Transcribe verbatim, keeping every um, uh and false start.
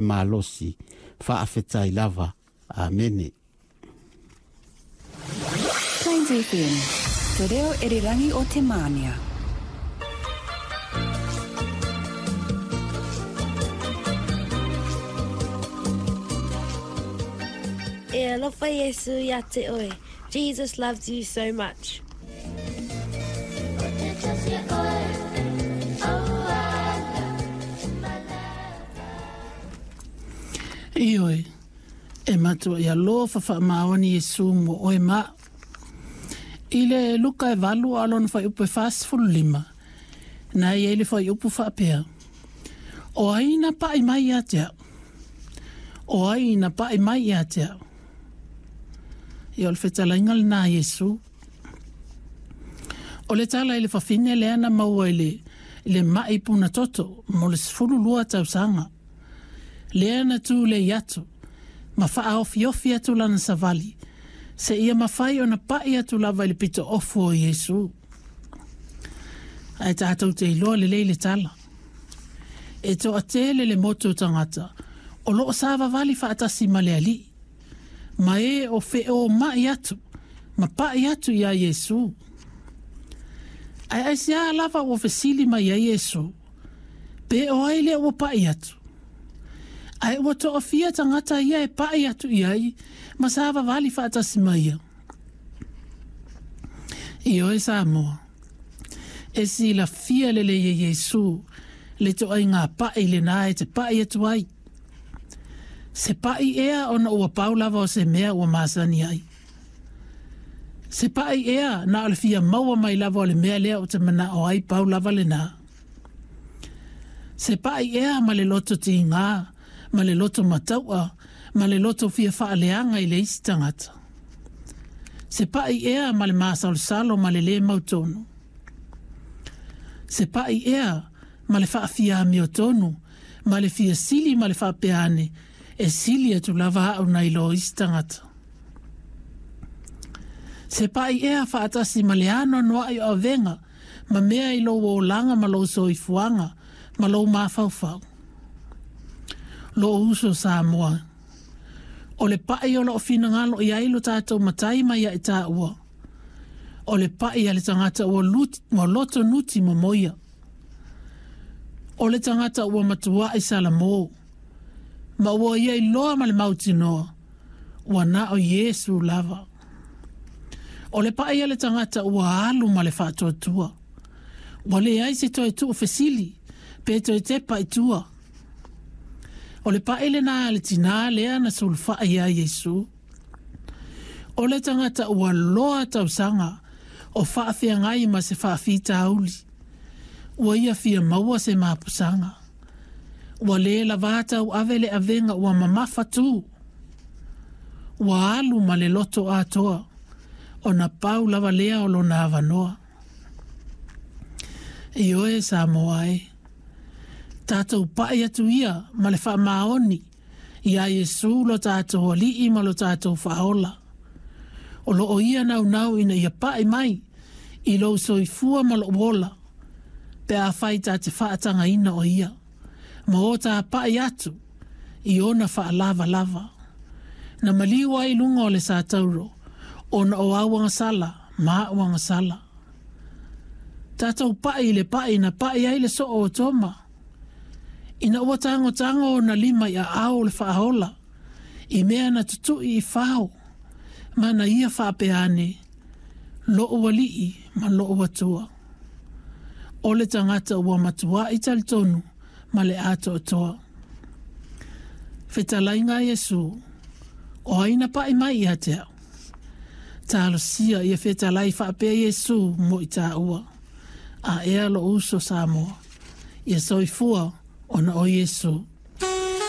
malosi faafetai lava. Amene. Plains F M, te reo erirangi o te mānia. E alofa Iesu ia te oe. Jesus loves you so much. Ioe, e matua ia lofa whaamaoni Iesu mo oe ma. I le Luka e valu alona whai upu e whasifulu lima, na ia ile whai upu whaapea. O ai na pai mai ia te au. O ai na pai mai ia te au. Ia o le whetalainga le nā Iesu. O le tala i le whawhine le ana maua i le, i le mai puna toto mo le sefulu lua tausanga. Le ana tū le iatu, ma whaaofiofi atu lana savali, se ia mawhai o na pai atu lava i le pito ofu o Iesu. Ai tātou te iloa le leile tala. E toa tele le moto tangata, o loo sāvavali whaatasi ma le ali. Ma e o wheo mai atu, ma pai atu ia Iesu. Ai ai sea lava o fesili mai ia Iesu, pe o ai le o pai atu. Ai ua to'afia tagata ia e pa'i atu i ai ma savavali fa'atasi mai ia. Ioe Samoa, e silafia lelei e Iesu le to'aiga pa'i lenā e te pa'i atu ai. Se pa'i ea ona ua pau lava o se mea ua masani ai. Se pa'i ea na o le fia maua mai lava o le mea lea o te mana'o ai pau lava lenā. Se pa'i ea ma le loto tigā, ma le loto mataua, ma le loto fia whaaleanga i le isi tangata. Se pa'i ea ma le masalosalo ma le le mautonu. Se pa'i ea ma le whaafia miotonu, ma le fia sili ma le whaapeane, e sili atu lava au nei lo isi tangata. Se pa'i ea whaatasi ma le ano noa i o avenga, ma mea i lo olanga ma lo soifuanga, ma lo mafaufau. Lo uso Samoa. O le pai o lo finangalo i ai lo tātou matai mai ia i tāua. O le pai a le tangata ua, lut, ua loto nuti momoia. O le tangata ua matua i Salamo. Ma ua ia i loa ma le mautinoa. Ua na o Iesu lava. O le pai a le tangata ua alu ma le whaatuatua. Ua le ai se toe tuu fesili, pe toe tepa i tua. O le paele nā le tina lea na sulfaa ia Iesu. O le tangata ua loa tausanga o faafeagai ma se faafitauli. Ua ia fia maua se mapusanga. Ua le lavata u ave le avenga ua mamafa tu. Ua alu ma le loto atoa. O na pau lava lea o lona avanoa. Ioe Samoa e. Tātou pai atu ia ma le whaamaoni ia Iesu lo tātou ali'i ma lo tātou whaola. O lo o ia nau nau ina ia pai mai i lou soifua ma lo ola pe a whai tā te whaatanga ina o ia. Ma o tā pai atu i ona whaalava lava. Na maliu ai lunga o le sātauro ona o auanga sala ma auanga sala. Tātou pai le pai na pai ai le soo o toma. Ina ua tango tango o na lima i a ao le whaahola, i mea na tutui i whao, mana ia whaapeane, lo ualii ma lo uatua. O le tangata ua matua i talitonu ma le atoatoa. Fetalainga Iesu, o aina pai mai ia te au. Talosia ia fetalai whaapea Iesu mo i tāua. A ea lo uso Samoa, ia soifua ona o Iesu.